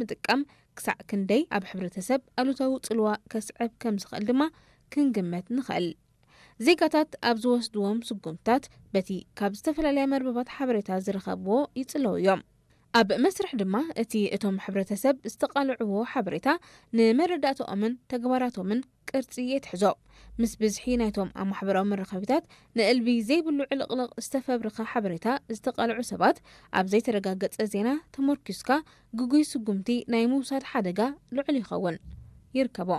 ምጥቃም ክሳዕ ክንደይ ኣብ ሕብረተሰብ ኣሉታዊ ጽልዋ ከስዕብ ከም ዝኽእል ድማ ክንግመት ንኽእል። ዜጋታት ኣብ ዝወስድዎም ስጉምትታት በቲ ካብ ዝተፈላለያ መርበባት ሓበሬታ ዝረኸብዎ ይጽለዉ እዮም። ኣብ መስርሕ ድማ እቲ እቶም ሕብረተሰብ ዝተቓልዕዎ ሓበሬታ ንመረዳእታኦምን ተግባራቶምን ቅርጺ የትሕዞ። ምስ ብዝሒ ናይቶም ኣብ ማሕበራዊ መራኸቢታት ንእልቢ ዘይብሉ ዕልቕልቕ ዝተፈብረኸ ሓበሬታ ዝተቓልዑ ሰባት፣ ኣብ ዘይተረጋገጸ ዜና ተመርኲስካ ግጉይ ስጉምቲ ናይ ምውሳድ ሓደጋ ልዑል ይኸውን። ይርከቦ።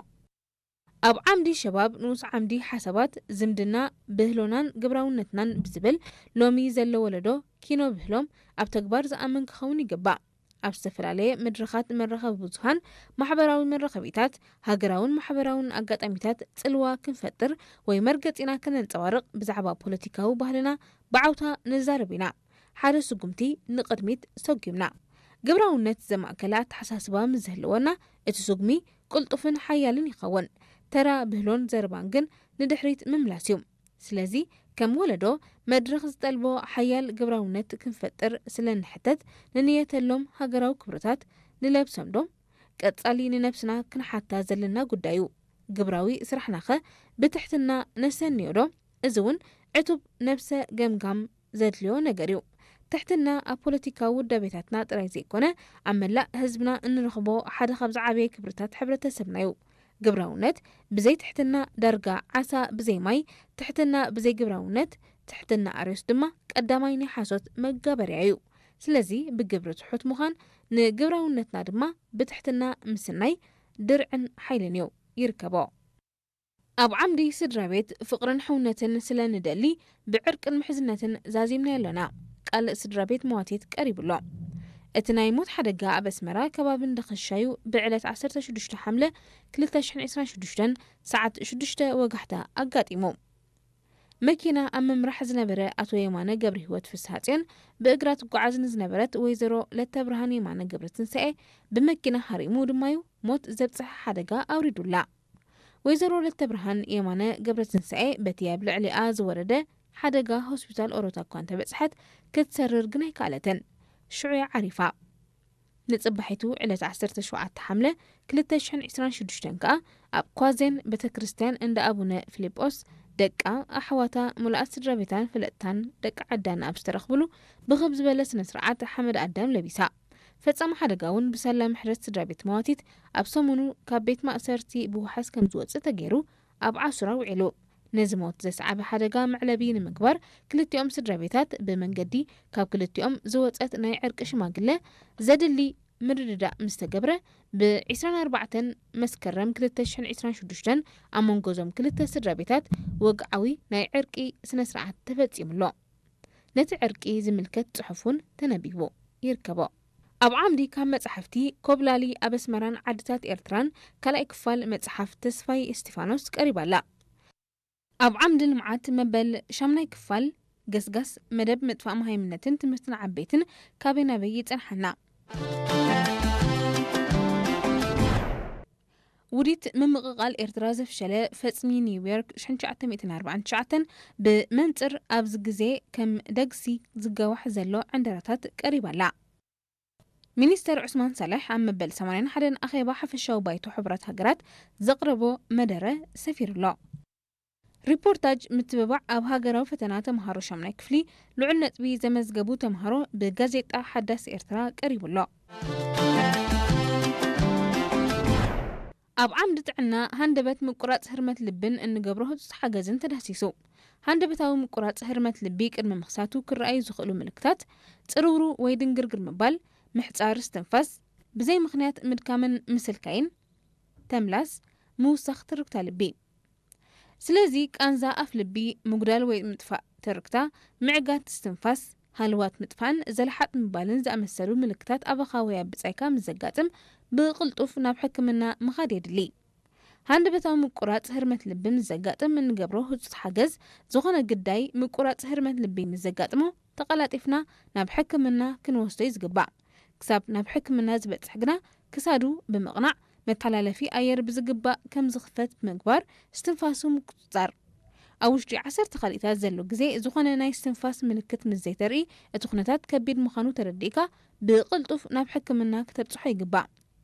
ኣብ ዓምዲ ሸባብ ንኡስ ዓምዲ ሓሳባት፣ ዝምድና፣ ብህሎናን ግብራውነትናን ብዝብል ሎሚ ዘሎ ወለዶ ኪኖ ብህሎም ኣብ ተግባር ዝኣምን ክኸውን ይግባእ። ኣብ ዝተፈላለየ መድረኻት መራኸቢ ብዙሃን፣ ማሕበራዊ መራኸቢታት፣ ሃገራውን ማሕበራውን ኣጋጣሚታት ጽልዋ ክንፈጥር ወይ መርገጺና ከነንጸባርቕ ብዛዕባ ፖለቲካዊ ባህልና ብዓውታ ንዛረብ ኢና። ሓደ ስጉምቲ ንቕድሚት ሰጒምና። ግብራውነት ዘማእከለ ኣተሓሳስባ ምስ ዝህልወና፣ እቲ ስጉሚ ቅልጡፍን ሓያልን ይኸውን። ተራ ብህሎን ዘረባን ግን ንድሕሪት ምምላስ እዩ። ስለዚ ከም ወለዶ መድረኽ ዝጠልቦ ሓያል ግብራውነት ክንፈጥር ስለ እንሕተት፣ ንንየተሎም ሃገራዊ ክብርታት ንለብሶም ዶ? ቀጻሊ ንነብስና ክንሓታ ዘለና ጉዳይ እዩ። ግብራዊ ስራሕናኸ ብትሕትና ነሰንዮ ዶ? እዚ እውን ዕቱብ ነብሰ ገምጋም ዘድልዮ ነገር እዩ። ትሕትና ኣብ ፖለቲካዊ ውዳቤታትና ጥራይ ዘይኮነ፣ ኣብ መላእ ህዝብና እንረኽቦ ሓደ ካብ ዝዓበየ ክብርታት ሕብረተሰብና እዩ። ግብራውነት ብዘይ ትሕትና ዳርጋ ዓሳ ብዘይ ማይ፣ ትሕትና ብዘይ ግብራውነት፣ ትሕትና ኣርዮስ ድማ ቀዳማይ ናይ ሓሶት መጋበርያ እዩ። ስለዚ ብግብሪ ትሑት ምዃን ንግብራውነትና ድማ ብትሕትና ምስናይ ድርዕን ሓይልን እዩ። ይርከቦ። ኣብ ዓምዲ ስድራ ቤት ፍቕርን ሕውነትን ስለ ንደሊ፣ ብዕርቅን ምሕዝነትን ዛዚምናዮ ኣሎና። ቃል ስድራ ቤት መዋቲት ቀሪቡ ኣሎ። እቲ ናይ ሞት ሓደጋ ኣብ ኣስመራ ከባቢ እንዳ ኸሻዩ ብዕለት ዓሰርተ ሽዱሽተ ሓምለ ክልተ ሽሕን ዕስራን ሽዱሽተን ሰዓት ሽዱሽተ ወጋሕታ ኣጋጢሙ። መኪና ኣብ ምምራሕ ዝነበረ ኣቶ የማነ ገብረህይወት ፍስሃጽዮን፣ ብእግራ ትጓዓዝ ንዝነበረት ወይዘሮ ለተብርሃን የማነ ገብረትንሳኤ ብመኪና ሃሪሙ ድማዩ ሞት ዘብጽሐ ሓደጋ ኣውሪዱላ። ወይዘሮ ለተብርሃን የማነ ገብረትንሳኤ በቲ ኣብ ልዕሊኣ ዝወረደ ሓደጋ ሆስፒታል ኦሮታ እኳ እንተበጽሐት፣ ክትሰርር ግን ኣይከኣለትን። ሽዑ እያ ዓሪፋ። ንጽባሒቱ ዕለት ዓሰርተ ሸውዓተ ሓምለ ክልተ ሽሕን ዕስራን ሽዱሽተን ከኣ ኣብ ኳዜን ቤተ ክርስቲያን እንዳ ኣቡነ ፊልጶስ ደቃ፣ ኣሕዋታ፣ ሙሉኣት ስድራ ቤታን ፈለጥታን ደቂ ዓዳን ኣብ ዝተረኽብሉ ብኽብ ዝበለ ስነ ስርዓት ሓመድ ኣዳም ለቢሳ። ፈጻሚ ሓደጋ እውን ብሳላ ምሕረት ስድራ ቤት መዋቲት ኣብ ሰሙኑ ካብ ቤት ማእሰርቲ ብዋሕስ ከም ዝወጽእ ተገይሩ ኣብ ዓሱራ ውዒሉ። ነዚ ሞት ዘስዓበ ሓደጋ መዕለቢ ንምግባር ክልቲኦም ስድራ ቤታት ብመንገዲ ካብ ክልቲኦም ዝወጸት ናይ ዕርቂ ሽማግለ ዘድሊ ምርድዳእ ምስ ተገብረ፣ ብ ዕስራን ኣርባዕተን መስከረም ክልተ ሽሕን ዕስራን ሽዱሽተን ኣብ መንጎ እዞም ክልተ ስድራ ቤታት ወግዓዊ ናይ ዕርቂ ስነ ስርዓት ተፈጺሙ ኣሎ። ነቲ ዕርቂ ዝምልከት ጽሑፍ እውን ተነቢቡ ይርከቦ። ኣብ ዓምዲ ካብ መጻሕፍቲ ኮብላሊ ኣብ ኣስመራን ዓድታት ኤርትራን ካልኣይ ክፋል መጽሓፍ ተስፋይ እስቲፋኖስ ቀሪባ ኣላ። ኣብ ዓምዲ ልምዓት መበል ሻምናይ ክፋል ገስጋስ መደብ ምጥፋእ መሃይምነትን ትምህርቲ ንዓበይትን ካበይ ናበይ ይጸንሓና? ውዲት ምምቕቓል ኤርትራ ዘፍሸለ ፈጽሚ ኒውዮርክ ሽሕን ትሽዓተ ሚእትን ኣርባዓን ትሽዓተን ብመንጽር ኣብዚ ግዜ ከም ደግሲ ዝገዋሕ ዘሎ ዕንደራታት ቀሪባ ኣላ። ሚኒስተር ዑስማን ሳልሕ ኣብ መበል ሰማንያን ሓደን ኣኼባ ሓፈሻዊ ባይቶ ሕቡራት ሃገራት ዘቕረቦ መደረ ሰፊሩ ኣሎ። ሪፖርታጅ ምትብባዕ ኣብ ሃገራዊ ፈተና ተምሃሮ ሻምናይ ክፍሊ ልዑል ነጥቢ ዘመዝገቡ ተምሃሮ ብጋዜጣ ሓዳስ ኤርትራ ቀሪቡ ኣሎ። ኣብ ዓምዲ ጥዕና ሃንደበት ምቁራጽ ህርመት ልብን እንገብሮ ህጹጽ ሓገዝን ተዳህሲሱ። ሃንደበታዊ ምቁራጽ ህርመት ልቢ ቅድሚ ምኽሳቱ ክረኣዩ ዝኽእሉ ምልክታት ጽርውሩ ወይ ድንግርግር ምባል፣ ምሕጻር እስትንፋስ፣ ብዘይ ምኽንያት ምድካምን ምስልካይን፣ ተምላስ፣ ምውሳኽ ትርግታ ልቢ። ስለዚ ቃንዛ ኣፍ ልቢ፣ ምጉዳል ወይ ምጥፋእ ትርግታ፣ ምዕጋት እስትንፋስ፣ ሃልዋት ምጥፋእን ዘለሓጥ ምባልን ዝኣመሰሉ ምልክታት ኣባኻ ወይ ኣብ ብጻይካ ምስ ዘጋጥም ብቕልጡፍ ናብ ሕክምና ምኻድ የድሊ። ሃንደበታዊ ምቁራጽ ህርመት ልቢ ምስ ዘጋጥም እንገብሮ ህጹጽ ሓገዝ፣ ዝኾነ ግዳይ ምቁራጽ ህርመት ልቢ ምስ ዘጋጥሞ ተቐላጢፍና ናብ ሕክምና ክንወስዶ እዩ ዝግባእ። ክሳብ ናብ ሕክምና ዝበጽሕ ግና ክሳዱ ብምቕናዕ መተሓላለፊ ኣየር ብዝግባእ ከም ዝኽፈት ብምግባር እስትንፋሱ ምቁጽጻር። ኣብ ውሽጢ ዓሰርተ ካልኢታት ዘሎ ግዜ ዝኾነ ናይ እስትንፋስ ምልክት ምስ ዘይተርኢ እቲ ኩነታት ከቢድ ምዃኑ ተረዲእካ ብቕልጡፍ ናብ ሕክምና ክተብጽሖ ይግባእ።